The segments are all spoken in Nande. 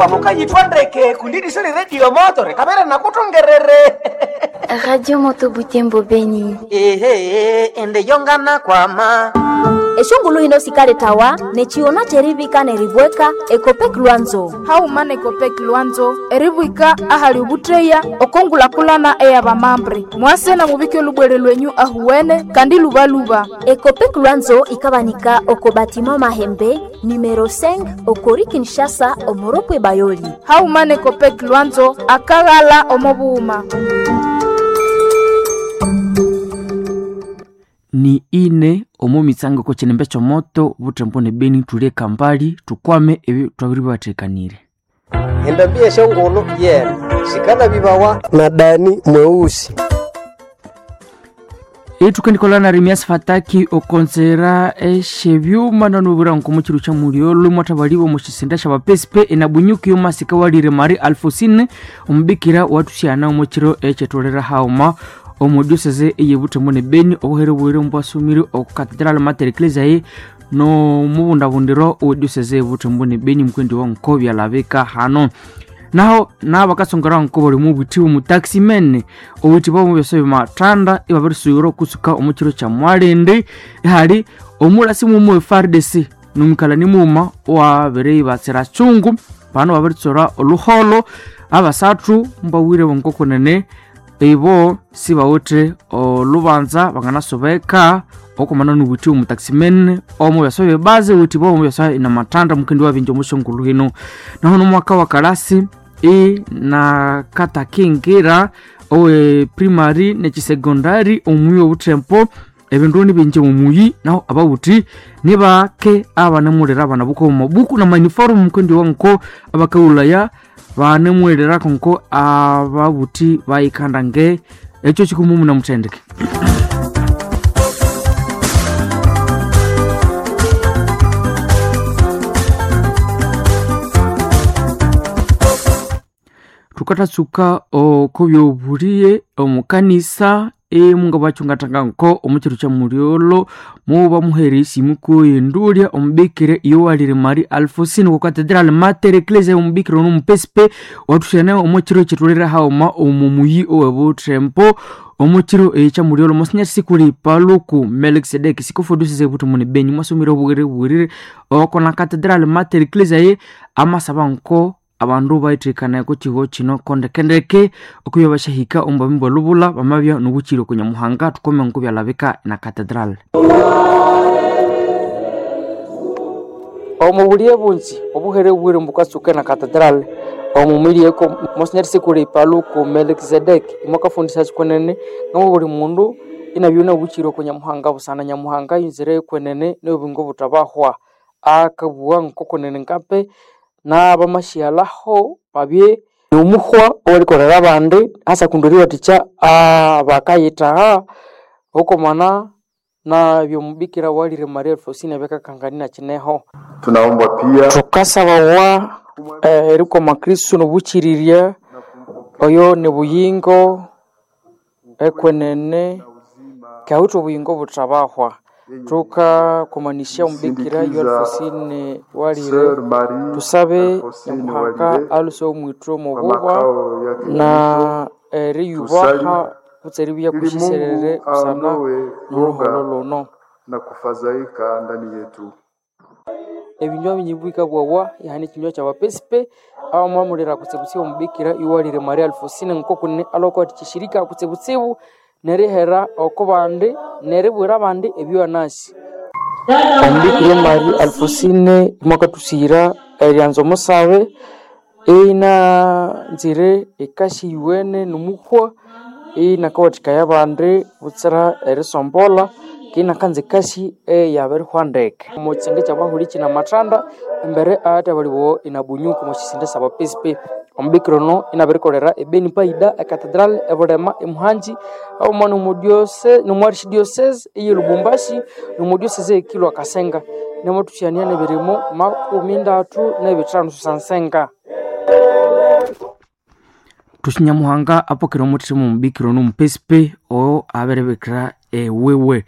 Mukabya mukayithwa ndeke kundi eriso ly'eredio moto rikabere nakuthongerere. Radio Moto Butembo Beni. Ehe, ende yongana kwama. Eshongulu hino sikaletawa nechiona cherivika neribweka Ekopek Lwanzo. Hauma nekopek Lwanzo eribwika ahali ubutreya okongulakulana eyabamambre mwase na mubike olubwere lwenyu ahuwene kandi lubaluba. Ekopek Lwanzo ikabanika oko batima Mahembe numero 5 okori Kinshasa omoropwe Bayoli. Hauma nekopek Lwanzo akaghala omobuuma. Ni ine omo mitsango ko chinembe chomoto butembo ne Beni tule kambali tukwame ebyo twabiri batekanire. Endambi eshongolo yena sikala bibawa na Dani mweusi. Itukandikola na Remias Fataki okonzera eshebyuma nanubura nkomuchiru cha muliolo mwatabaliwa mushisinda sha bapesipe enabunyuki yomasika walire Mari Alfosine omubikira watusyana omuchiro echetolera hauma omudioseze eyebutembo ne Beni obuhere bwire mbwasumire okukatedral Mater Ecclesiae no mubundabundiro owedioseze ebutembo ne Beni mukwendi wa nkobya labeka hano naho nabakasongera nkobori mubuti mu taximen obuti bwo mubyoso bimatanda ibabirisubira okusuka omukiro kya mwalindi ihali omulasi mumu FARDC numukala nimuma wabere ibatsira chungu pano babiritsora oluholo abasathu mbawire bonkokonene ibo sibawithe olubanza banganasobeka okomana nubuthi omu taximen omu byaso bibazi uthi bo byaso inamatanda mukendi wabinja omushongulu hino naho nomwaka wa kalasi e na katakingira owe primary nechisecondary omuyi obuthempo ebindu nibinji omuyi naho abawuthi nibake abanemulera abana buko omumabuku na maniforumu mukendi wanko abakaghulaya banemwererako nko ababuthi bayikanda nge ekyo kikumumu namuthendeke. Tukatatsuka okubyobuliye omukanisa emunga bachungatanga nko omuchiru cha muliolo muba muherisi mukuyendulia omubikire yowalire Mari Alfosine ku Cathedral Mater Ecclesiae omubikire ono mupesipe watusyana omuchiro chetulira hauma omumuyi owebuthempo omuchiro echa muliolo mosinya sikuli paluku Melkisedeki sikufudusise buthi muni Beni mwasomire obughere bwirire okona Cathedral Mater Ecclesiae amasaba nko abandu baithikana kuchigo chino kondekendeke okubya bashahika omu bwa lubula bamabya nobuchiro kunyamuhanga tukome nkubyalabika na cathedral. Omu buliye bunzi obuhere bwire mbukasuka na cathedral omumwirieko monsinyeri sikuli paluku Melkisedeki imwakafundisha kwenene ngamo buli mundu inabyona obuchiro kunyamuhanga busana nyamuhanga yinzire kwenene nobingo butabahwa akabugha nkokonene nkape n'abamashyalaho babye nomuhwa owerikolera abandi hasa kundi eriwathikya abakayithaha okomana nabyomubikira walire Maria Alfosine byakakangania kineho. Tunaomba pia thukasabawa erikoma Kristo nobuchirirya oyo nibuyingo ekwenene kyawithe obuyingo buthabahwa tukakomanisya omubikira yo Alfosine walire tusabe nyamuhanga aluse omwithu omububa na eriyubaha kutse eribya kushiserere busana noruholo luno na kufadhaika ndani yetu. Ebinywa binyibwika bwawa ihane ekinywa kyabapesipe abamwamulira kutsibutsibu omubikira iwalire Maria Alfosine nkokunene alwakuwathikya eshirika kutsibutsibu nerihera oko bandi neribwira abandi ebyowanasi. Omubikira Maria Alfosine mwakathusiyira eryanza omusabe inanzire ekasi yuwene nomuhwa inakawathikaya abandi butsira erisombolha kinakanza ekasi eyabirihwa ndeke omukisenge kyabahuli kinamathanda embere ahathabalibawa inabunyuku omwakisinde syabapesipe. Omubikira ono inabirikolera ebeni paida ecathedral ebulema emuhanji haghuma nomwarchidiocese eye Lubumbashi nomwadiocese eye Kilwa Kasenga namathusyania nebirimo 35 susansenga. Thusinyamuhanga apokere omuthima omubikira ono omupesipe oyo abiribikira ewiwe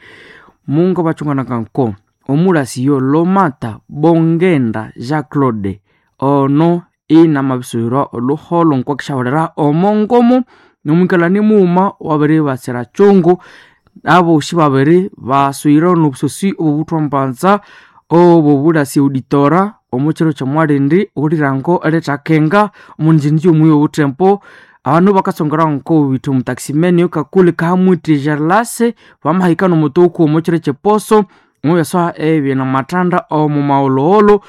mungu bachunganaka nko omulasi yo Lomata Bongenda Jean Claude ono Inamabisubirwa oluholo nkwakishaholera omongomo nomwikalani muuma wabiri batsira chungu. Abosi babiri baswire nobusosi obubuthwa mbanza obobulasi auditora omo kiro kyomwalindi okulirango erithakenga omunjinji omuyi obuthempo. Abandu bakatsongera nkobitha omutaximene okakuli kahamwithi Gerlase bamahika nomutuku omo kiro kyeposo omubyasoha ebyana omu maghulhughulhu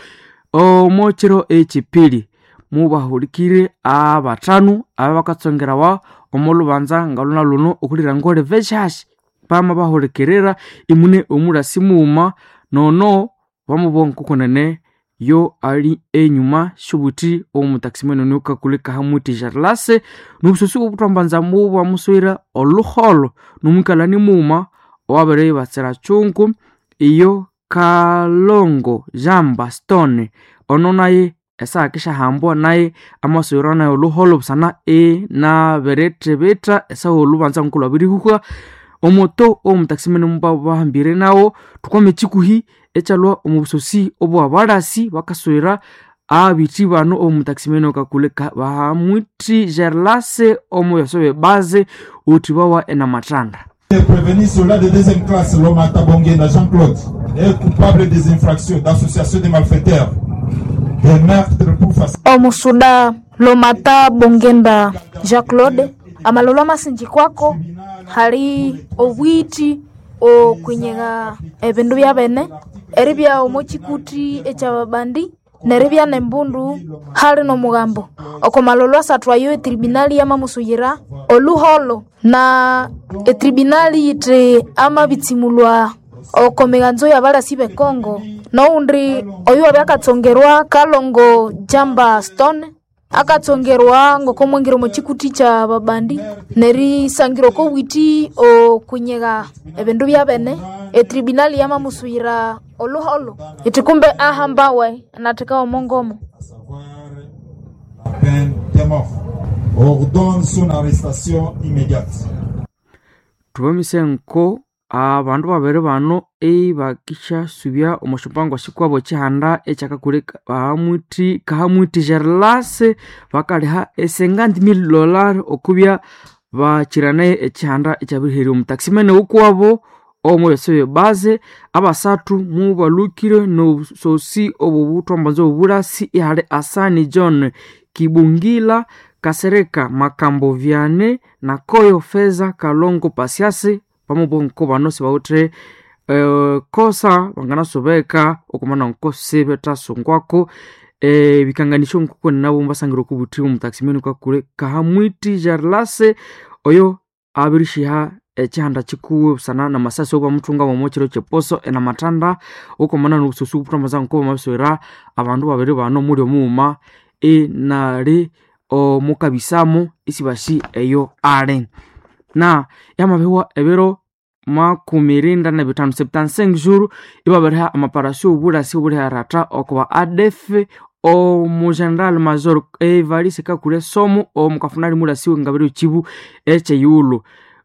omo kiro ekyipili. Mubahulikire abathanu ababakatsongerawa omo lubanza ngaluna luno okulira oliveshasha bamabahulikirira imune omulasi mughuma nono bamubugha nkokunene yo ali enyuma syobuthi omutaximene ono kakuli kahamwithi Gerlase nobusosi obuthwambanza mubwamuswira oluholo nomwikalani mughuma owabiribatsira chungu. Iyo Kalongo Jean Bastone ono naye esakishahambwa naye amaswira naye oluholo busana inabirithibitha esaha olubanza ngoko lwabirihuhwa omoto omutaximene mubabahambire nawo. Thukwame ekikuhi ekyalhwa omu busosi obwabalasi bakaswira abithi bano omutaximene okakuli bahamwithi Gerlase omu byaso byebaze uthibawa enamathanda. Prévenu soldat de deuxième classe Lomata Bongenda Jean-Claude est coupable des infractions d'association de malfaiteurs, des meurtres pour faciliter. Omusuda Lomata Bongenda Jean-Claude amalolo amasinji kwako hali obwiti okwinyegha ebindu byabene eribya omo kikuti ekyababandi neribya nembundu hali nomugambo. Oko malolo asathu ayo etribunali yamamusuyira oluholo na etribunali yithi amabitsimulwa oko miganzo yabalasi bekongo. Nowundi oyu wabya akatsongerwa Kalongo Jamba Stone akatsongerwa ngokomwingira omo kikuti kya babandi nerisangira oko bwiti okwinyegha ebindu byabene. Etribunali yamamusuyira oluholo iti kumbe ahambawe nathika omongomo. La peine de mort. Ordonne son arrestation immédiate. Thubamise nko abandu babiri bano ibakishasubya omo syombango sikwabo ekihanda ekyakakuli bahamwithi kahamwithi Gerlase bakaliha $50,000 okubya bakiranaye ekihanda ekyabiriherya omutaximene wukuwabo omo byasa byebaze. Abasathu mubalhukire nobusosi obobuthwambanza obubulasi ihali Asani John Kibungila Kasereka Makambo Viane na Koyo Feza Kalongo Pasiasi pamubwa nko bano sibawithe kosa banganasobeka okumana nko sibethasungwako ebikanganisyo nkoko nabo mbasangira okubuthi omutaximene kakule kahamwithi Gerlase oyo abirishiha ekihanda kikuwe busana namasasi obamuthunga omo kiro kyeposo enamathanda okomana nobusosi obuthwambaza nko bamabiswera abandu babiri bano muli omughuma inali omukabisamo isibasi eyo ali na yamabihwa ebiro 75 75 jours ibabiriha amaparasio obulasi obuliharatha okuba ADF omu General Major Evariste Kakule Somo omukafunali mulasi wengabiro ekibu ekyeyulu.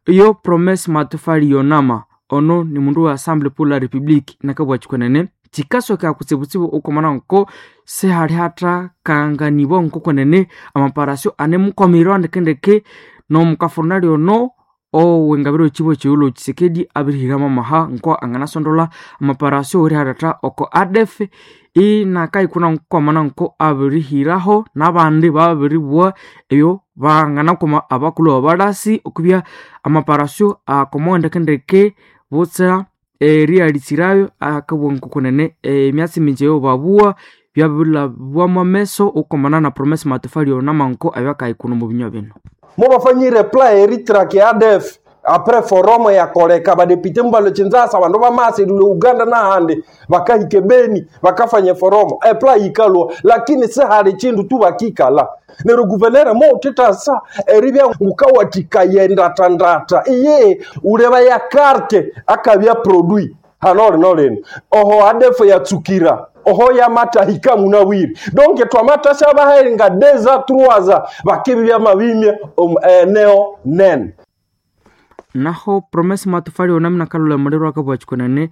Iyo Promesse Matofali Yonama ono ni mundu wa Assemblée pour la République nakabwa kikwenene kikasoka kutsibutsibu okomana nko sihali hatha kanganibwa nkokwenene amaparasio anemukomirwa ndekendeke nomukafurnali ono owengabiro ekibo ekyeyulu Tshisekedi abirihiramo amaha nko anganasondola amaparasio oriharatha oko ADF inakaikuna nkwamana nko abirihiraho nabandi babiribugha ebyo banganakoma abakulhu babalasi okubya amaparasio akomowa ndekendeke butsira eriyalitsirayo akabugha nkokunene emyatsi mingi eyo babugha byabirilhabwamu ameso okwamana na Promesse Matofali Yonama nko abyakaikuna omu binywa bino. Mubafanyire plan eritrake ADF apres forum yakoleka badepite mubalwe Kinshasa abandu bamasilile Uganda nahandi bakahika Beni bakafanya forum epla yikalwa lakini sihali chindu tu bakikala neryo guvernere moutithasa eribya ngukawathikaya endatandata iye uleba ya karte akabya produit hano lino lino oho ADF yatsukira oho yamatahika munabwire donc twamatasha bahenga deza truaza bakibibya mabimya eneo nene. Naho Promesse Matofali Yonama nakalhula muliro akabugha kyikunene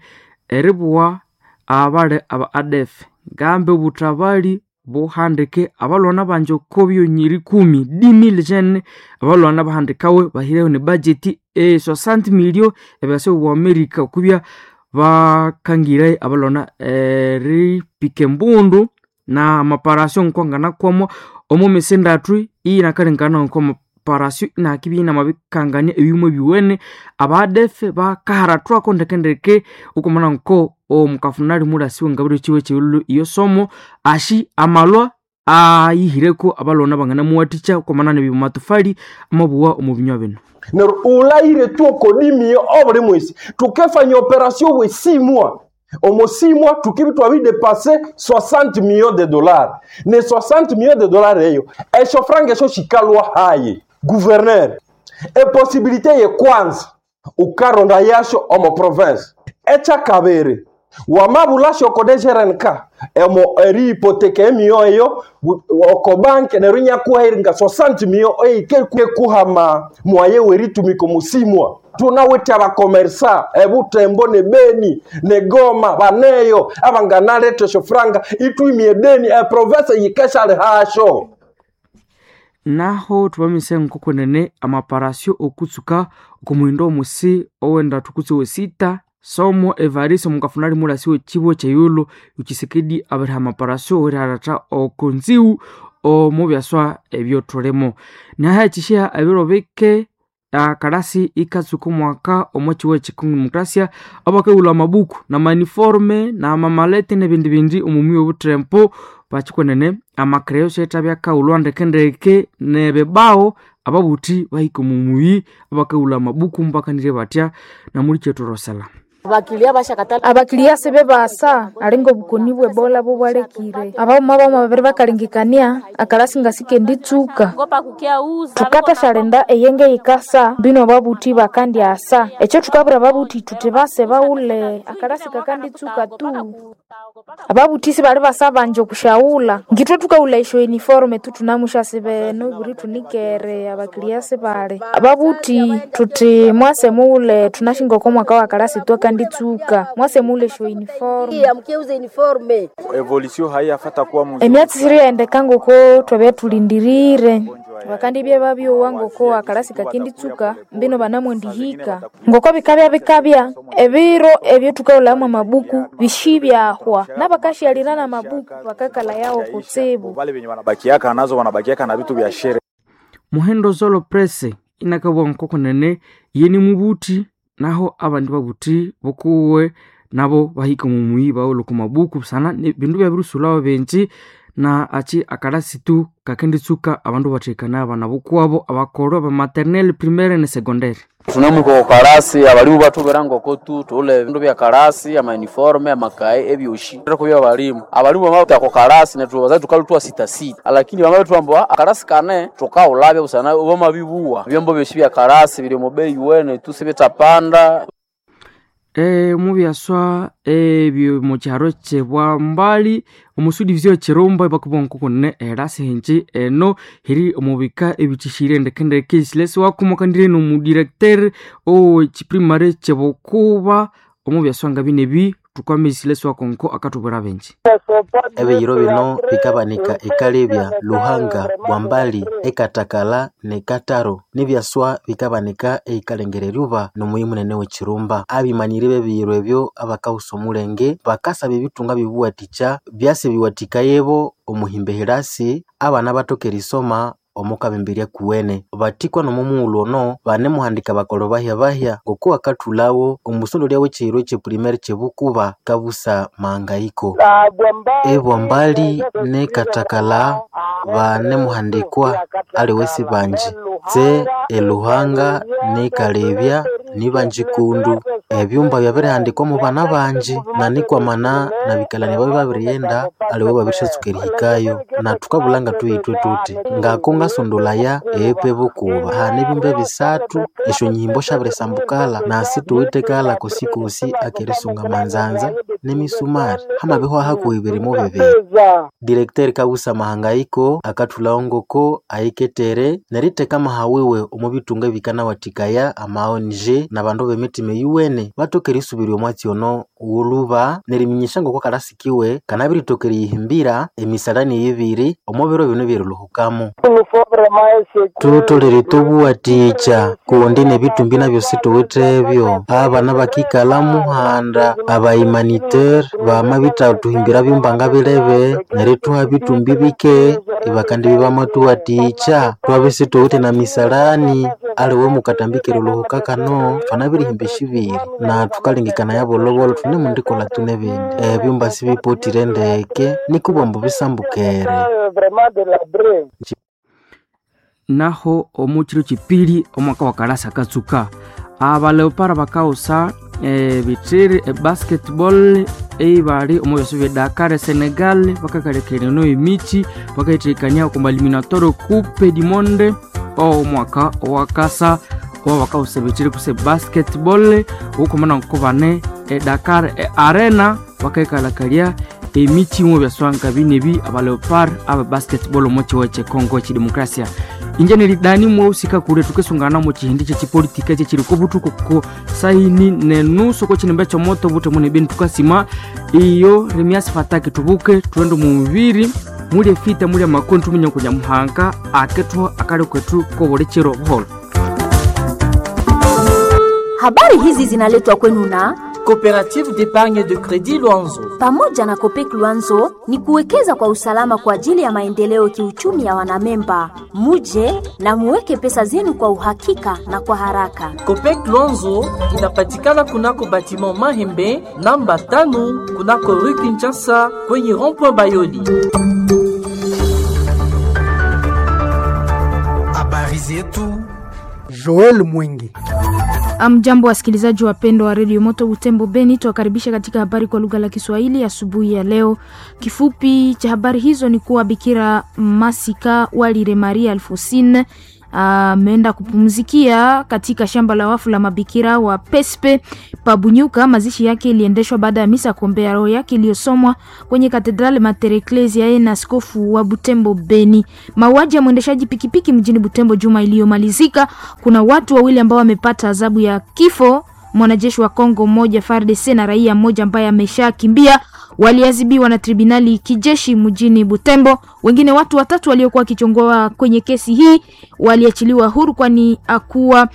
eribugha abali aba ADF ngambi obuthabali buhandike abalwana banje oko byonyiri kumi 10,000 jene abalwana bahandikawe bahireho ne budget e 60 milio ebyase bwa Amerika okubya bakangire abalwana eripika embundu na amaparasio nkwangana kwamo omo misi ndatu iyinakalengana nko amaparasio inakibya inamabikangania ebyuma ebiwene abadefe bakaharathwako ndekendeke okumana nko omukafunali mulasi wengabiro chiwe chiululu iyo somo ashi amalwa ayihireko abalwana banganamuwathikya okwamana nebimatofali amabuwa omu binywa bino neryo ulayire tu okodimiyo obuli mwesi tukefanya operation bwesimwa omo simwa tukibi twabidepase 60 millions de dollars ne 60 millions de dollars eyo esyo franga esyo shikalwa haye gouverneur eposibilite ye kwanza ukaronda yasyo omo province ekyakabiri wamabulasyo oko DGRNK emo eriipoteka emiyo eyo oko banke neryo inyakuhairinga 60 millions eikekuhama mwaye weritumika omusimwa tunawithe abakomersa ebutembo ne beni ne goma baneyo abanganaletha esyo franga itwimie deni eprovince yikeshali hasyo naho thubamise nkokwenene amaparasio okutsuka okumuhindo omusi owenda thukutse wesita somo evaristo mukafunali mulasi wechibo cheyulo uchisekedi abiriha amaparasio weriharatha okonziwu omubyaswa ebyothulimo naha echishiha ebiro bike akalasi ikatsuka omwaka omo chiwo echikong'emokrasia abakawulha amabuku namaniforme namamalete nebindi bindi omumwi obuthempo bakikwenene amakereyo syethabyakawulwa ndekendeke nebibao ababuthi bahika omumuyi abakawulha amabuku mbakanirye batya namuli kyethu rosela Abakiliya sibe basa alinga obukoni bwe Ebola bobwalekire abaghuma baghuma babiri bakalengekania akalasi nga sikenditsuka thukathasyalhinda eyenge yikasa mbino ababuthi bakandyasa ekyo thukabwira ababuthi thuthi base baghule akalasi kakanditsuka tu ababuthi sibali basa banji okusyaghulha ngithwe thukaghulha esyo uniform tu thunamusyasibene obuli thunikere abakiliya sibali ababuthi thuthi mwase mughule thunashinga oko mwaka wa kalasi twakanditsuka mwase mughule esyo uniform Evolution haiyafata kuwa mzuri. emyatsi siriyaendeka ngoko twabya thulindirire bakandibya babyowa ngoko akalasi kakinditsuka mbino banamwendihika ngoko bikabya bikabya ebiro ebyo thukaghulhamu amabuku bishibyahwa nabakasyalira namabuku bakakalha yawo kutsibu Wale wenye wanabakiaka nazo wanabakiaka na vitu vya shere. Muhendo Zolo Press inakabwa nkokonene yeni mubuthi naho abandi babuthi bokuwe nabo bahika omumuyi bawulha oko mabuku busana bindu byabirisulawo bingi na achi akalasi tu kakenditsuka abandu bathekana abana bokuwabo abakolho abamaternelle primaire ne secondaire Thunemuka oko kalasi abalimu bathubwira ngoko tu thughule ebindu bya kalasi amauniforme amakaye ebyosi kubya abalimu abalimu bamabya oko kalasi nethu abazazi thukalhwa sitasita lakini bamabithwamba akalasi kane thukaghulabya busana bamabibuwa ebyombo byosi bya kalasi biri omo beyi wene tu sibithapanda mubyaswa ebyo mukyaro kyebwambali omusudivizio kyirumba ibakubwa nkokonene erasi hinji eno hiri omubika ebithishire ndekendeke silesi wakumukandire nomudirecteur owekiprimary kyebukuba omubyaswa nga binebi thukwame silesi wakonko akathubwira bingi Ebiyiro bino bikabanika ekalebya Luhanga, Bwambali, ekatakala ne Kataro nibyaswa bikabanika eikalengera eryuba nomuyi munene w'ekirumba. Abimanyiri b'ebiyiro ebyo abakahusa omulenge bakasaba ebitunga bibuwathikya byasa ebiwathikayebo omuhimba ehirasi abana bathoke erisoma omo kabemberya kuwene. Bathikwa n'omo mughulhu ono banemuhandika bakolho bahya-bahya ngoko bakathulhawo omusondolya w'ekiyiro eky'epurimary kyebukuba kabusa mahangayiko. Ebwambali ne Katakala banemuhandikwa aliwe sibanji tse eluhanga ne Kalebya nibanji kundu. Ebyumba byabirihandikwamu bana banji na nikwamana nabikalani babya babirighenda aliwe babirisatsuka erihikayo na thukabulha ngathuyithwe thuthi ngako ngasondolaya eepa ebukuba hane ebyumba ebisathu esyonyihimbo syabirisambukalha nasi thuwithe kalha kosikosi akerisunga amanzanza nemisumari hamabihwa hakuhi birimo bibiri. Directeur Kabusa Mahangayiko Katembo akathulawo ngoko ayiketere neritheka amaha wiwe omu bitunga ebikanawathikaya ama ONG n'abandu b'emitima eyuwene bathoke erisubirya omwatsi ono wulhuba neriminyisya ngoko kalasikiwe kanabiritoka eriyihimbira emisalani eyibiri omu biro bino ebyerilhuhukamo. Thutholere thubuwathikya kundi nebitumbi nabyo situwithebyo. Abana bakikalha muhanda, abahumanitaire bamabithathuhimbira byumbanga bilebe nerithuha bitumbi bike ibakandibya bamathuwathikya. Thwabya isithuwithe na misalani aliwe mukatambi kerilhuhuka kano thwanabirihimba esyibiri na thukalengekanaya bolhobolho thunemundikolha thunebindi. Ebyumba sibipotire ndeke nikubwa ambu bisambukere. Naho omu kiro kipiri omwaka wa kalasa katsuka abaleopara bakawusa ebithiri ebasketball eibali omu byaso bya Dakar Senegal bakakalekera emichi bakayithekania oku eliminatorio coupe du monde omwaka owakasa owa bakawusa ebithiri kuse basketball okumana nkubane e Dakar arena bakaikalakalia emichi mu byaswanga binebi abaleopard aba basketball omu kiwa kye Congo ekidemokrasia. Inje nelidani mwausika kule tukesungana mu chihindi kyechipolitika kyechiriko butuku ko saini nenusu ko chinembe chomoto bute mune beni tukasima iyo Remias Fataki tubuke tuende mu mubiri mulye fita mulye makoni tumenye kunya muhanga akethu akali kwetu kobolechero buholo. Habari hizi zinaletwa kwenu na Coopérative d'épargne de crédit Luanzo. Pamoja na Copec Luanzo ni kuwekeza kwa usalama kwa ajili ya maendeleo kiuchumi ya wanamemba. Muje na muweke pesa zenu kwa uhakika na kwa haraka. Copec Luanzo inapatikana kunako batiment Mahembe namba 5 kunako Rue Kinshasa kwenye rond-point Bayoli. Habari zetu Joel Mwingi. Amjambo, wasikilizaji wapendwa wa redio Moto Butembo Beni, tuwakaribisha katika habari kwa lugha la Kiswahili asubuhi ya leo. Kifupi cha habari hizo ni kuwa Bikira Masika Walire Maria Alfosine ameenda kupumzikia katika shamba la wafu la mabikira wa Pespe Pabunyuka. Mazishi yake iliendeshwa baada ya misa kuombea roho yake iliyosomwa kwenye Katedrali Mater Ecclesiae na askofu wa Butembo Beni. Mauaji ya mwendeshaji pikipiki mjini Butembo juma iliyomalizika, kuna watu wawili ambao wamepata adhabu ya kifo, mwanajeshi wa Kongo mmoja FARDC na raia mmoja ambaye ameshakimbia waliadhibiwa na tribunali kijeshi mjini Butembo. Wengine watu watatu waliokuwa wakichongoa kwenye kesi hii waliachiliwa huru, kwani hakuwa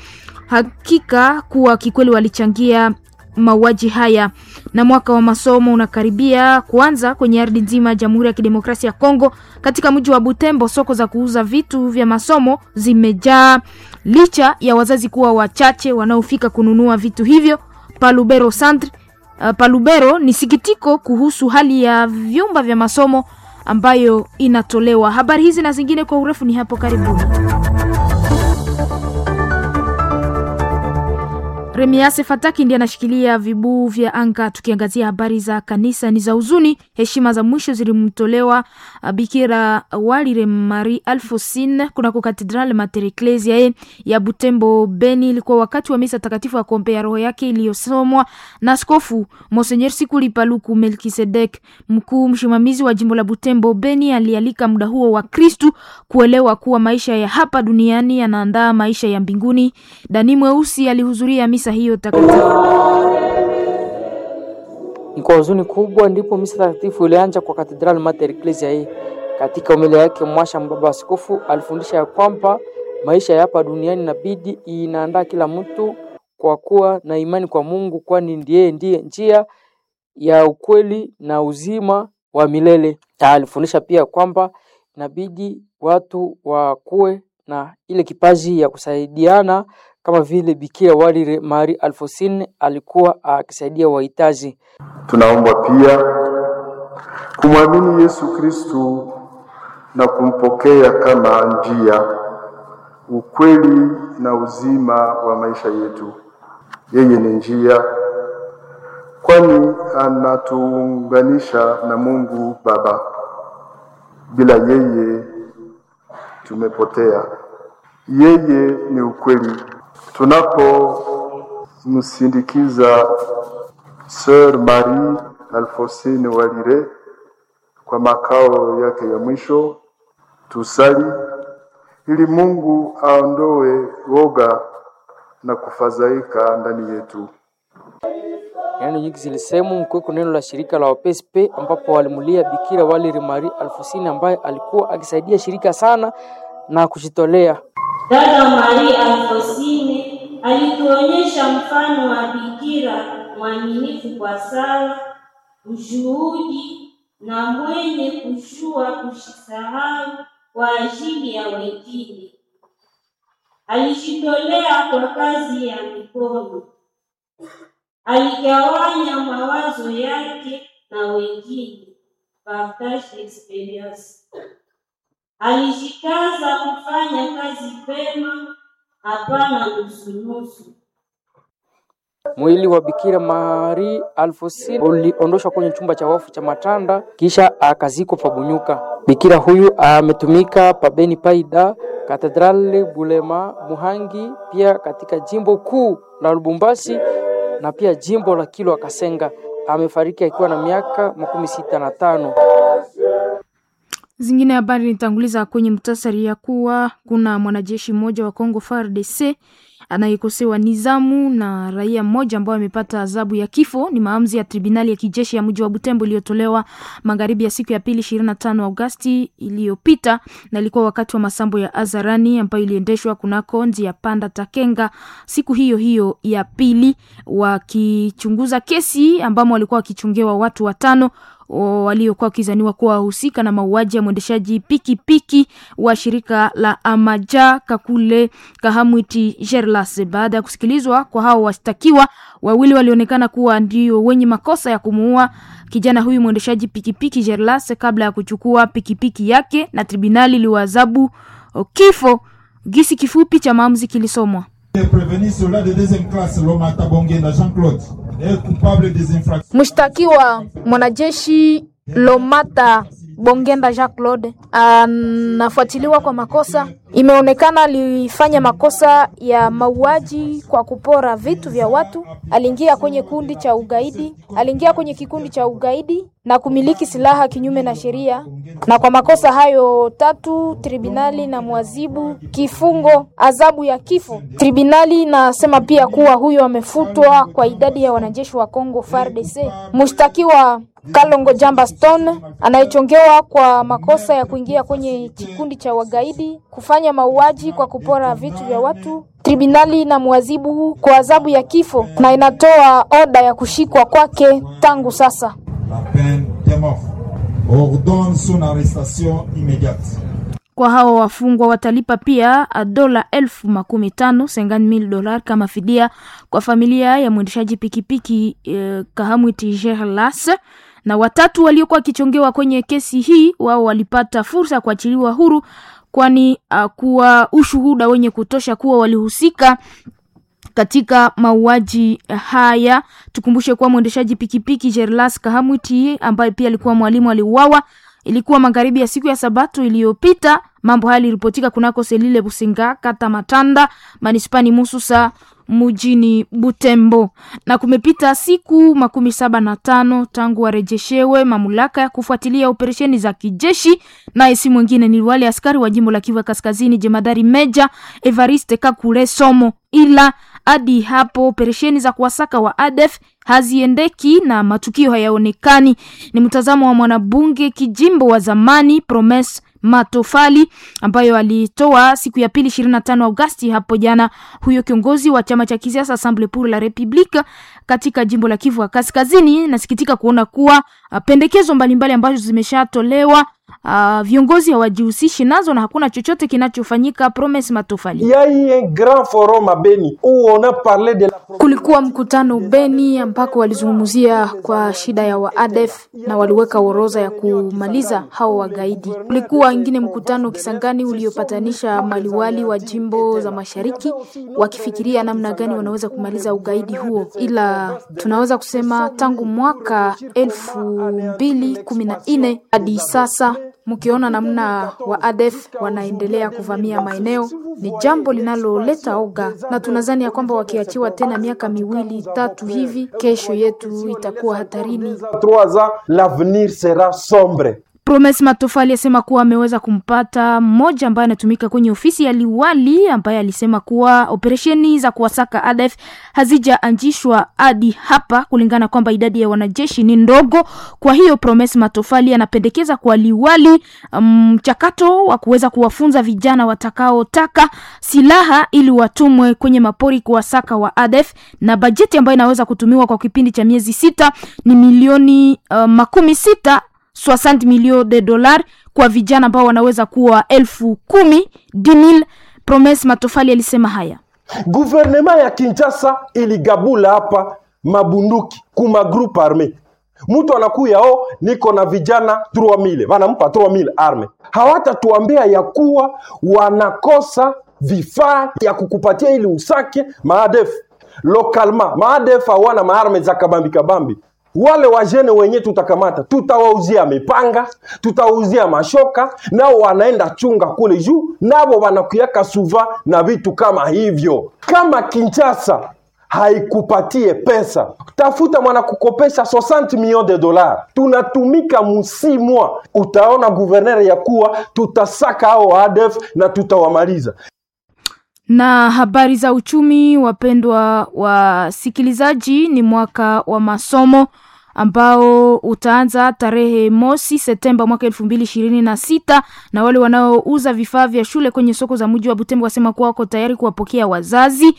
hakika kuwa kikweli walichangia mauaji haya. Na mwaka wa masomo unakaribia kuanza kwenye ardhi nzima ya Jamhuri ya Kidemokrasia ya Kongo. Katika mji wa Butembo, soko za kuuza vitu vya masomo zimejaa licha ya wazazi kuwa wachache wanaofika kununua vitu hivyo. Palubero Centre Palubero ni sikitiko kuhusu hali ya vyumba vya masomo ambayo inatolewa. Habari hizi na zingine kwa urefu ni hapo karibuni. Remiase Fataki ndiye anashikilia vibuu vya anga. Tukiangazia habari za kanisa ni za huzuni. Heshima za mwisho zilimtolewa Bikira Walire Marie Alphonsine kunako Katedrali Mater Ecclesiae ya Butembo Beni. Ilikuwa wakati wa misa takatifu ya kuombea roho yake iliyosomwa na Askofu Monsenyer Sikuli Paluku Melkisedek, mkuu msimamizi wa jimbo la Butembo Beni. Alialika muda huo wa Kristu kuelewa kuwa maisha ya hapa duniani yanaandaa maisha ya mbinguni. Dani Mweusi alihudhuria misa hiyo takatifu. Ni kwa huzuni kubwa ndipo misa takatifu ilianza kwa Katedrali Mater Ecclesiae. Katika homilia yake, mwasha mbaba askofu alifundisha ya kwamba maisha ya hapa duniani inabidi inaandaa kila mtu kwa kuwa na imani kwa Mungu, kwani ndiye njia ya ukweli na uzima wa milele. Alifundisha pia kwamba inabidi watu wakuwe na ile kipaji ya kusaidiana kama vile Bikira Walire Marie Alphonsine alikuwa akisaidia wahitaji. Tunaomba pia kumwamini Yesu Kristu na kumpokea kama njia, ukweli na uzima wa maisha yetu. Yeye ni njia, kwani anatuunganisha na Mungu Baba. Bila yeye tumepotea. Yeye ni ukweli. Tunapomsindikiza Sœur Marie Alphonsine Walire kwa makao yake ya mwisho, Tusali ili Mungu aondoe woga na kufadhaika ndani yetu. Neno nyingi zilisemu mkiweko neno la shirika la WPSP ambapo walimulia Bikira Waliri Marie Alfosini ambaye alikuwa akisaidia shirika sana na kujitolea. Dada Marie Alfosine alituonyesha mfano wa bikira mwaminifu kwa sala, ushuhudi na mwenye kujua kujisahau kwa ajili ya wengine. Alijitolea kwa kazi ya mikono, aligawanya mawazo yake na wengine, partage d'experience. Alijikaza kufanya kazi pema, hapana nusunusu. Mwili wa Bikira Marie Alfosini uliondoshwa kwenye chumba cha wafu cha Matanda kisha akazikwa Pabunyuka. Bikira huyu ametumika pabeni Paida, Katedrali Bulema, Muhangi, pia katika jimbo kuu la Lubumbashi na pia jimbo la Kilwa Kasenga. Amefariki akiwa na miaka 65. Zingine habari nitanguliza kwenye mtasari ya kuwa kuna mwanajeshi mmoja wa Congo FARDC anayekosewa nizamu na raia mmoja ambao amepata adhabu ya kifo. Ni maamuzi ya tribunali ya kijeshi ya mji wa Butembo iliyotolewa magharibi ya siku ya pili 25 Agosti iliyopita, na ilikuwa wakati wa masambo ya hadharani ambayo iliendeshwa kunako njia panda Takenga siku hiyo hiyo ya pili, wakichunguza kesi ambamo walikuwa wakichungewa watu watano waliokuwa wakizaniwa kuwa wahusika na mauaji ya mwendeshaji pikipiki wa shirika la Amaja Kakule Kahamwiti Gerlas. Baada ya kusikilizwa kwa hao washtakiwa wawili walionekana kuwa ndio wenye makosa ya kumuua kijana huyu mwendeshaji pikipiki Gerlas kabla ya kuchukua pikipiki yake, na tribunali iliwaadhabu kifo. Gisi kifupi cha maamuzi kilisomwa. Prévenu soldat de deuxième classe Lomata Bongenda Jean-Claude est coupable des infractions. Mshtakiwa mwanajeshi Lomata Bongenda Jean Claude anafuatiliwa kwa makosa. Imeonekana alifanya makosa ya mauaji kwa kupora vitu vya watu. Aliingia kwenye kundi cha ugaidi, aliingia kwenye kikundi cha ugaidi na kumiliki silaha kinyume na sheria. Na kwa makosa hayo tatu, tribunali na mwazibu kifungo adhabu ya kifo. Tribunali inasema pia kuwa huyo amefutwa kwa idadi ya wanajeshi wa Kongo FARDC. Mshtakiwa Kalongo Jamba Stone anayechongewa kwa makosa ya kuingia kwenye kikundi cha wagaidi, kufanya mauaji kwa kupora vitu vya watu. Tribunali na mwazibu kwa adhabu ya kifo na inatoa oda ya kushikwa kwake tangu sasa. La peine de mort ordonne son arrestation immédiate. Kwa hao wafungwa watalipa pia dola 50,000 $50,000 kama fidia kwa familia ya mwendeshaji pikipiki Kahamwiti Gerlas. Na watatu waliokuwa wakichongewa kwenye kesi hii wao walipata fursa ya kuachiliwa huru, kwani kuwa ushuhuda wenye kutosha kuwa walihusika katika mauaji haya. Tukumbushe kuwa mwendeshaji pikipiki Gerlas Kahamwiti ambaye pia alikuwa mwalimu aliuawa ilikuwa magharibi ya siku ya Sabato iliyopita. Mambo haya yaliripotika kunako Selile Businga, kata Matanda, manispani Mususa, mjini Butembo. Na kumepita siku 75 tangu warejeshewe mamlaka ya kufuatilia operesheni za kijeshi, naye si mwingine ni wale askari wa jimbo la Kivu Kaskazini, jemadari Meja Evariste Kakule Somo. Ila hadi hapo operesheni za kuwasaka wa ADF haziendeki na matukio hayaonekani. Ni mtazamo wa mwanabunge kijimbo wa zamani Promes Matofali ambayo alitoa siku ya pili 25 Agosti hapo jana. Huyo kiongozi wa chama cha kisiasa Assemblée pour la République katika jimbo la Kivu ya Kaskazini, nasikitika kuona kuwa pendekezo mbalimbali ambazo zimeshatolewa viongozi hawajihusishi nazo na hakuna chochote kinachofanyika. Promes Matofali: Il y a eu un grand forum à Beni où on a parlé de la Kulikuwa mkutano Beni ambako walizungumzia kwa shida ya waadef na waliweka orodha ya kumaliza hao wagaidi. Kulikuwa ingine mkutano Kisangani uliopatanisha maliwali wa jimbo za mashariki wakifikiria namna gani wanaweza kumaliza ugaidi huo, ila tunaweza kusema tangu mwaka 2014 hadi sasa mkiona namna wa ADF wanaendelea kuvamia maeneo ni jambo linaloleta oga, na tunadhani ya kwamba wakiachiwa tena miaka miwili tatu hivi, kesho yetu itakuwa hatarini. 3 ans, l'avenir sera sombre. Promes Matofali asema kuwa ameweza kumpata mmoja ambaye anatumika kwenye ofisi ya liwali ambaye alisema kuwa operesheni za kuwasaka ADF hazijaanzishwa hadi hapa kulingana kwamba idadi ya wanajeshi ni ndogo. Kwa hiyo Promes Matofali anapendekeza kwa liwali mchakato wa kuweza kuwafunza vijana watakaotaka silaha ili watumwe kwenye mapori kuwasaka wa ADF, na bajeti ambayo inaweza kutumiwa kwa kipindi cha miezi 6 ni milioni 60 60 millions de dollars kwa vijana ambao wanaweza kuwa 10,000 10,000. Promes Matofali alisema haya. Guvernema ya Kinshasa iligabula hapa mabunduki kuma groupe arme. Mtu anakuya o, niko na vijana 3000 wanampa 3000 arme. Hawatatuambia ya kuwa wanakosa vifaa ya kukupatia ili usake maadef lokalma. Maadef hawana maarme za kabambi kabambi. Wale wajene wenye tutakamata tutawauzia mipanga, tutawauzia mashoka, nao wanaenda chunga kule juu, nabo wanakuyaka suva na vitu kama hivyo. Kama Kinshasa haikupatie pesa, tafuta mwana kukopesha 60 millions de dollars. Tunatumika musimwa, utaona guverner ya kuwa tutasaka hao ADF na tutawamaliza. Na habari za uchumi, wapendwa wasikilizaji, ni mwaka wa masomo ambao utaanza tarehe mosi Septemba mwaka 2026, na wale wanaouza vifaa vya shule kwenye soko za mji wa Butembo wasema kuwa wako tayari kuwapokea wazazi.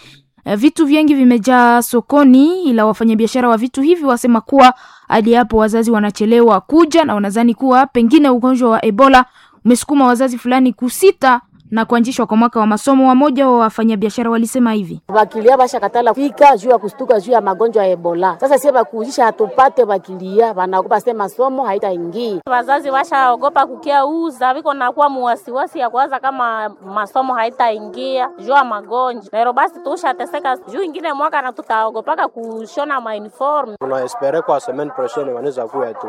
Vitu vingi vimejaa sokoni, ila wafanyabiashara wa vitu hivi wasema kuwa hadi hapo wazazi wanachelewa kuja na wanadhani kuwa pengine ugonjwa wa Ebola umesukuma wazazi fulani kusita na kuanzishwa kwa mwaka wa masomo. Wamoja wa wafanyabiashara walisema hivi: bakilia bashakatala fika juu ya kustuka juu ya magonjwa ya Ebola. Sasa sie bakuuzisha hatupate bakilia, banaogopa sema masomo haitaingia. Wazazi washaogopa kukia uza viko nakuwa muwasiwasi ya kuwaza kama masomo haitaingia juu ya magonjwa nero, basi tushateseka juu ingine mwaka na tutaogopaka kushona mauniform. Tuna espere kwa semaine prochaine wanaweza kuya tu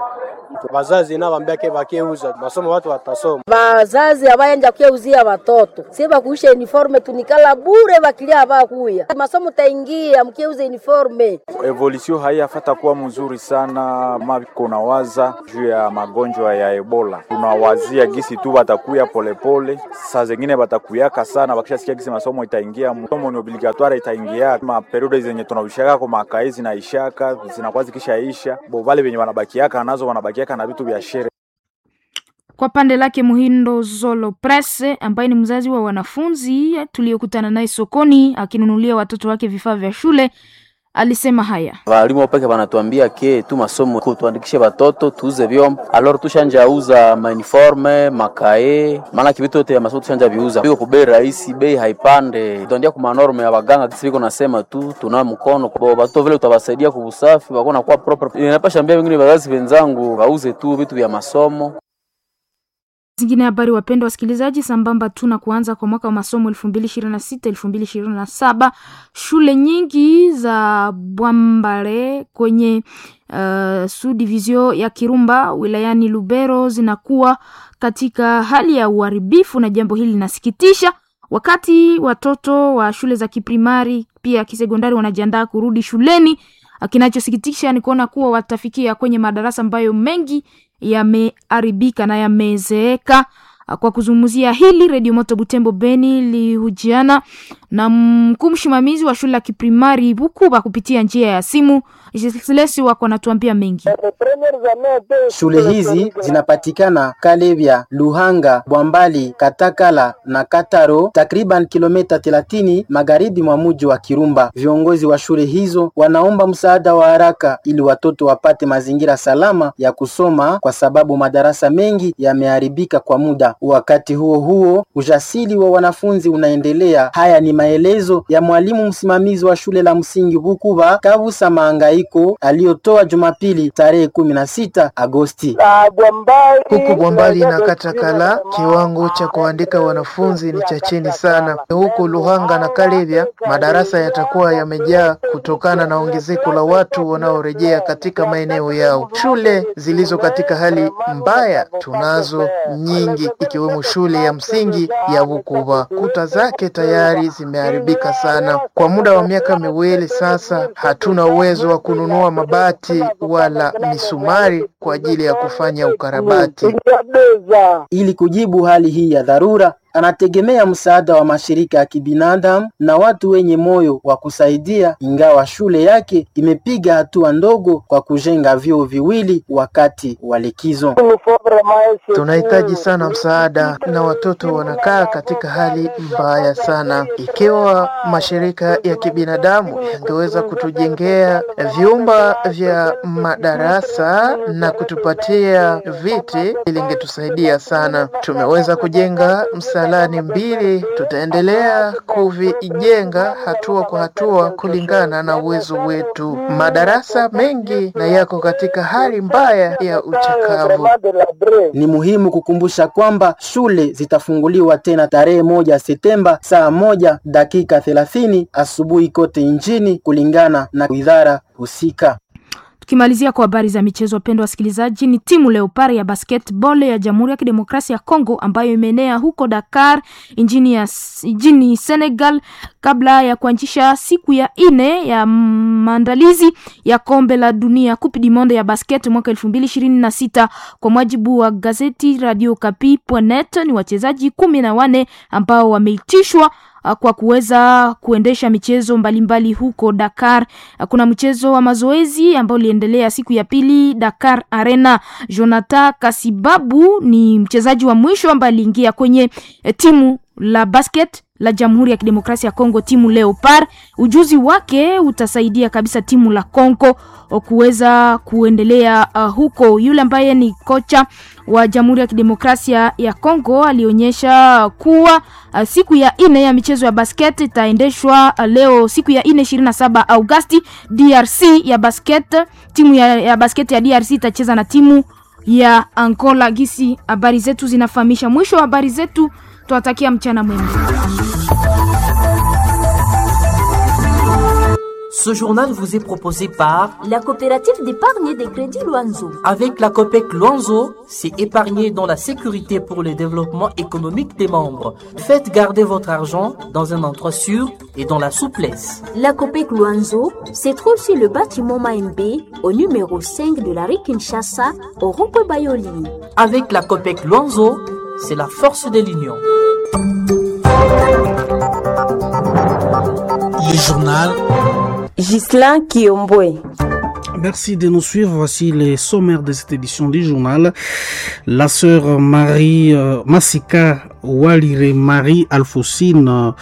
wazazi na wambia ke bakiuza masomo watu watasoma. Wazazi abayenja kuyauzia watoto sie bakuisha uniforme tunikala bure, bakilia abakuya masomo taingia mkiuza uniforme. Evolution haiyafata kuwa mzuri sana, mako nawaza juu ya magonjwa ya Ebola, tunawazia gisi tu batakuya polepole, saa zengine batakuyaka sana, bakishasikia gisi masomo itaingia, masomo ni obligatoire itaingia, ma periode zenye tunaushaka kwa makai zinaishaka zinakuwa zikishaisha, bo vale venye wanabakiaka nazo wanabakiaka na vitu vya shere. Kwa pande lake Muhindo Zolo Presse ambaye ni mzazi wa wanafunzi tuliyokutana naye sokoni akinunulia watoto wake vifaa vya shule alisema haya: walimu wapeke wanatuambia ke tu masomo tuandikishe watoto tuuze vyombo, alor tushanja uza mauniforme makae, maana kivitu yote ya masomo tushanja viuza biko kubei rahisi, bei haipande, tuandia kuma norme ya baganga kisi biko nasema tu tuna mkono bo watoto vile utawasaidia kubusafi wako na kuwa proper. Inapasha ambia wengine wazazi wenzangu wauze tu vitu vya masomo. Zingine habari, wapendwa wasikilizaji, sambamba tu na kuanza kwa mwaka wa masomo 2026 2027, shule nyingi za Bwambale kwenye sudivizio ya Kirumba wilayani Lubero zinakuwa katika hali ya uharibifu, na jambo hili linasikitisha wakati watoto wa shule za kiprimari pia kisekondari wanajiandaa kurudi shuleni. Kinachosikitisha ni kuona kuwa watafikia kwenye madarasa ambayo mengi yameharibika na yamezeeka. Kwa kuzungumzia hili, Redio Moto Butembo Beni ilihojiana na mkuu msimamizi wa shule ya kiprimari Bukuba kupitia njia ya simu. Jislesi wako anatuambia mengi. Shule hizi zinapatikana Kalebya, Luhanga, Bwambali, Katakala na Kataro, takriban kilomita 30 magharibi mwa mji wa Kirumba. Viongozi wa shule hizo wanaomba msaada wa haraka ili watoto wapate mazingira salama ya kusoma, kwa sababu madarasa mengi yameharibika kwa muda. Wakati huo huo, ujasiri wa wanafunzi unaendelea. Haya ni maelezo ya mwalimu msimamizi wa shule la msingi Bukuba, Kabusa Maangaiko, aliyotoa Jumapili tarehe 16 Agosti. Huku Bwambali na Katakala kiwango cha kuandika wanafunzi ni cha chini sana. Huku Luhanga na Kalebya madarasa yatakuwa yamejaa kutokana na ongezeko la watu wanaorejea katika maeneo yao. Shule zilizo katika hali mbaya tunazo nyingi, ikiwemo shule ya msingi ya Bukuba. Kuta zake tayari zimeharibika sana. Kwa muda wa miaka 2 sasa, hatuna uwezo wa kununua mabati wala misumari kwa ajili ya kufanya ukarabati. Ili kujibu hali hii ya dharura, anategemea msaada wa mashirika ya kibinadamu na watu wenye moyo wa kusaidia, ingawa shule yake imepiga hatua ndogo kwa kujenga vyoo viwili wakati wa likizo. Tunahitaji sana msaada na watoto wanakaa katika hali mbaya sana. Ikiwa mashirika ya kibinadamu yangeweza kutujengea vyumba vya madarasa na kutupatia viti, ilingetusaidia sana. Tumeweza kujenga msalani 2, tutaendelea kuvijenga hatua kwa hatua kulingana na uwezo wetu. Madarasa mengi na yako katika hali mbaya ya uchakavu. Ni muhimu kukumbusha kwamba shule zitafunguliwa tena tarehe 1 Septemba saa 1:30 asubuhi kote nchini kulingana na idara husika. Tukimalizia kwa habari za michezo, wapendwa wasikilizaji, ni timu Leopard ya basketball ya Jamhuri ya Kidemokrasia ya Kongo ambayo imeenea huko Dakar nchini Senegal kabla ya kuanzisha siku ya 4 ya maandalizi ya kombe la dunia Coupe du Monde ya basket mwaka 2026. Kwa mujibu wa gazeti Radio Okapi.net, ni wachezaji 14 ambao wameitishwa kwa kuweza kuendesha michezo mbalimbali huko Dakar. Kuna mchezo wa mazoezi ambao uliendelea siku ya pili Dakar Arena. Jonathan Kasibabu ni mchezaji wa mwisho ambaye aliingia kwenye timu la basket la Jamhuri ya Kidemokrasia ya Kongo, timu Leopard. Ujuzi wake utasaidia kabisa timu la Kongo kuweza kuendelea huko. Yule ambaye ni kocha wa Jamhuri ya Kidemokrasia ya Kongo alionyesha kuwa siku ya 4 ya michezo ya basket itaendeshwa leo siku ya 4 27 Agosti. DRC ya basket, timu ya basket ya DRC itacheza na timu ya Angola. Gisi habari zetu zinafahamisha. Mwisho wa habari zetu, tuwatakia mchana mwema. Ce journal vous est proposé par la coopérative d'épargne des crédits Luanzo. Avec la COPEC Luanzo, c'est épargner dans la sécurité pour le développement économique des membres. Faites garder votre argent dans un endroit sûr et dans la souplesse. La COPEC Luanzo se trouve sur le bâtiment Maembe, au numéro 5 de la rue Kinshasa, au rond-point Bayoli. Avec la COPEC Luanzo, c'est la force de l'union. Le journal Ghislain Kiombwe. Merci de nous suivre. Voici les sommaires de cette édition du journal. La sœur Marie Massika Walire Marie Alphonsine